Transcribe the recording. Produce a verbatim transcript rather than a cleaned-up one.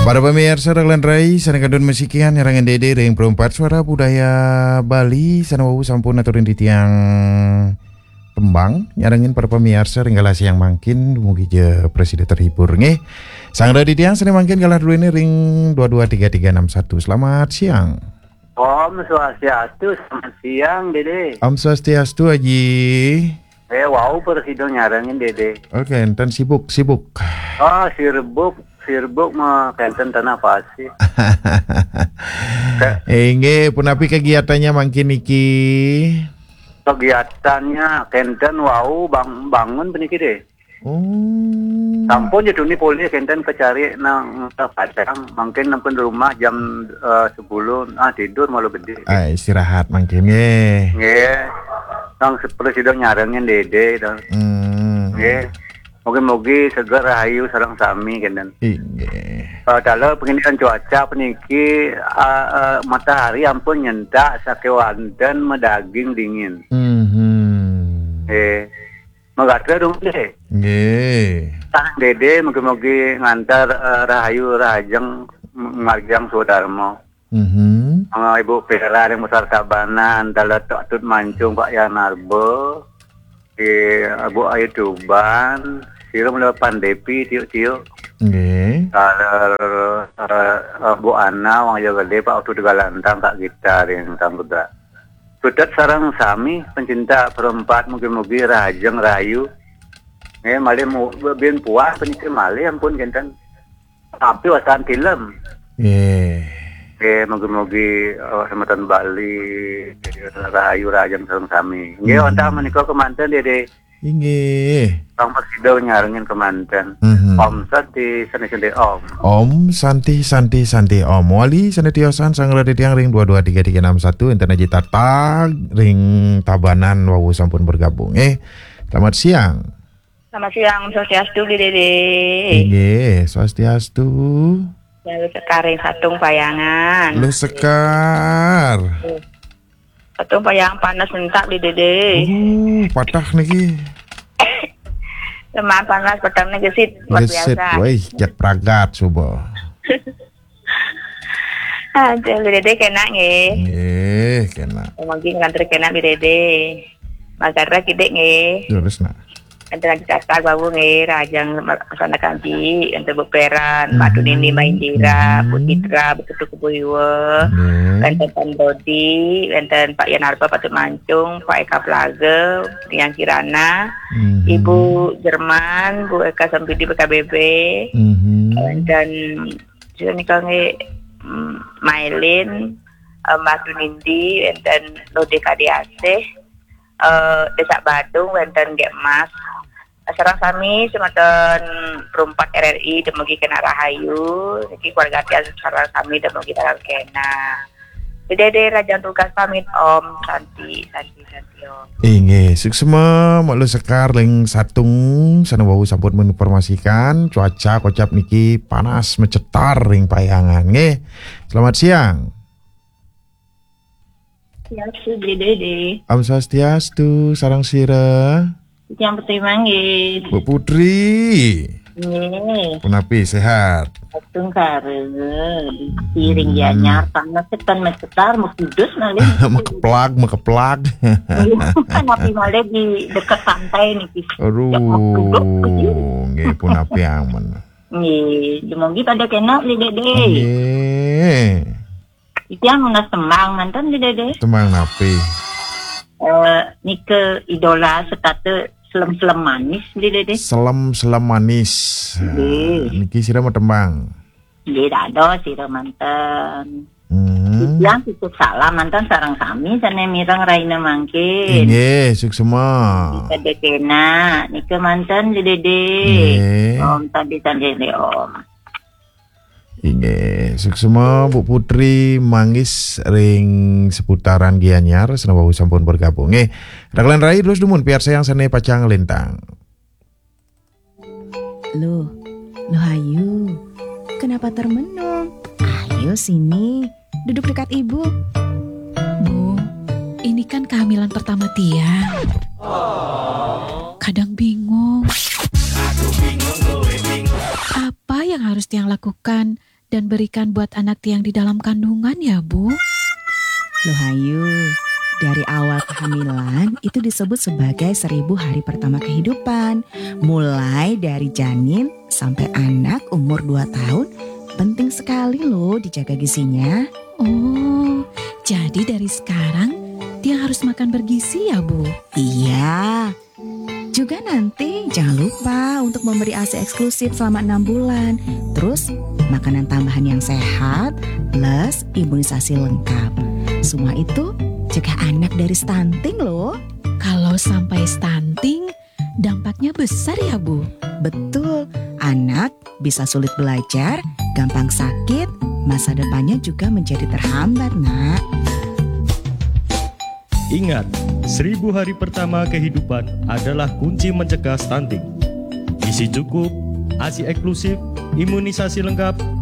Para pamiarsa, dagelan rai, sané kantun masikian nyarengin Dédé ring Perempat Suara Budaya Bali, sané wau sampun aturin titiang tembang, nyarengin para pamiarsa ring galah siang mangkin, dumugi ja prasida terhibur, nggih. Sang rai titiang sané mangkin galah druéné ring dua dua tiga tiga enam satu. Selamat siang. Om Swastiastu, selamat siang, Dédé. Om Swastiastu, Aji. Eh, wau prasida nyarengin, Dédé. Oké, enten sibuk, sibuk. Oh, sibuk, sibuk mah kenten tanah pasih. Inggih, punapi kegiatannya mangkin niki? Kegiatannya kenten wau bang-, bangun puniki, Dé. Oh. Sampun ja tuni polih kenten kacari nang ka Padang, mangkin nempun rumah jam, eh, sepuluh, ah, tidur malu gedé. Ah, istirahat mangkin, nggih. Nggih. Nang se-, prasida nyarengin Dédé, to. Hmm. Nggih. Mugi-mugi seger rahayu sareng sami kenten. Inggih. Eh, taler penginian cuaca puniki, eh, eh, matahari ampun nyentak sakéwanten madaging dingin. Mhm. Nggih. Magatra dong, Dé. Nggih. Sareng Dédé, mugi-mugi ngantar, eh, rahayu rahajeng, m-, margiang swadarma. Mhm. Mangga Ibu Pera ring Pasar Tabanan, taler Tut Mancung, Pak Yan Arba, di Ibu Ayu Tuban, sira mula Pan Dépi, tiuk-tiuk. Nggih. Taler, eh, eh, Bu Ana, Wang Yo Gedé, Pak Utu Tegalantang, Kak Gita ring Samudra. Sutet sareng sami pencinta Perempat, mugi-mugi rahajeng rahayu. Nggih, malih mu-, bin puas puniki malih ampun kenten. Tapi wastan tilem. Nggih. Nggih, mugi-mugi, eh, semeton Bali, rahayu rahajeng sareng sami. Nggih, hmm, wantah menika kemanten, Dédé. Inggih. Sang prasida nyarengin kemanten. Mhm. Om Santi, Santi, Santi, Om. Om Santi, Santi, Santi, Om. Wali sané tiosan sang rai titiang ring dua dua tiga tiga enam satu, enten Aji Tatag ring Tabanan wau sampun bergabung, eh. Selamat siang. Selamat siang, Om Swastiastu, Dédé. Inggih, Swastiastu. Luh Sekar ring Satung Payangan. Luh Sekar. Satung Payangan panas mentak, Dédé. Uh, patah niki. Lemah panas, petengné gesit, luar biasa. Gesit, wéh, jak pragat suba. Aduh, Dédé kénak nggih. Nggih, kénak. Mangkin nglantur kénak, Dédé. Magatra kidik nggih. Terus, nak. Wénten Aji Tatag wau nggih, rahajeng ma-, masandekan Aji, wénten Bu Peran, Mbak Tunini, Mbak Indira, Bu Citra, Bu Putu Kubuiwa, nggih, wénten Pan Brodi, wénten Pak Yan Arba, Pak Tut Mancung, Pak Eka Plaga, Yang Kirana, mhm, Ibu Jerman, Bu Eka Sempidi, B K B B, mhm, wénten sira nika nggih, mm, Mailin, eh, Mbak Tunindi, wénten Lode Kadiasih, eh, Desa Badung, wénten Gek Mas. Sareng sami semeton Perempat R R I, dumugi kénak rahayu. Niki keluarga tiang sareng sami dumugi dalam kénak. Dédé rahajeng tugas pamit, Om. Santi, Santi, Santi, Om. Inggih, suksma, Mak Luh Sekar ring Satung, sané wau sampun menginformasikan cuaca kocap niki panas mecetar ring Payangan, nggih. Selamat siang. Swastiastu, Dédé. Om Swastiastu, sareng sira. Yang pertama nggih. Bu Putri. Nggih. Punapi, sehat? Tungkara. Di ring Gianyar, panas tekan mecetar, mau kudus malih. Makeplag, makeplag. Kan api malih di dekat pantai niki. Aduh, nggih, punapi amen. Nggih, dumugi pada kénak, Dédé. Nggih. Titiang nunas tembang manten, Dédé. Tembang napi? Eh, nika idola sekata Selem-selem manis, Dédé. Selem-selem manis. Nggih. Niki sira matembang. Nggih, dados sira manten. Hmm. Titiang titip salam manten sareng sami sané mireng rahina mangkin. Inggih, suksma. Nika manten, Dédé. Nggih. Om Santi, Santi, Om. Inggih, suksma Bu Putri Manggis ring seputaran Gianyar, sané wau sampun bergabung. Nggih, dagelan rai terus dumun piarsayang sané pacang lintang. Loh, loh Ayu, kenapa termenung? Ayo sini, duduk dekat ibu. Bu, ini kan kehamilan pertama tiang. Kadang bingung. Apa yang harus tiang lakukan dan berikan buat anak tiang di dalam kandungan ya, Bu? Loh Ayu, dari awal kehamilan itu disebut sebagai seribu hari pertama kehidupan. Mulai dari janin sampai anak umur dua tahun, penting sekali loh dijaga gizinya. Oh, jadi dari sekarang tiang harus makan bergizi ya, Bu? Iya. Juga nanti jangan lupa untuk memberi ASI eksklusif selama enam bulan. Terus, makanan tambahan yang sehat plus imunisasi lengkap. Semua itu cegah anak dari stunting loh. Kalau sampai stunting, dampaknya besar ya, Bu? Betul, anak bisa sulit belajar, gampang sakit, masa depannya juga menjadi terhambat, Nak. Ingat, seribu hari pertama kehidupan adalah kunci mencegah stunting. Gizi cukup, ASI eksklusif, imunisasi lengkap,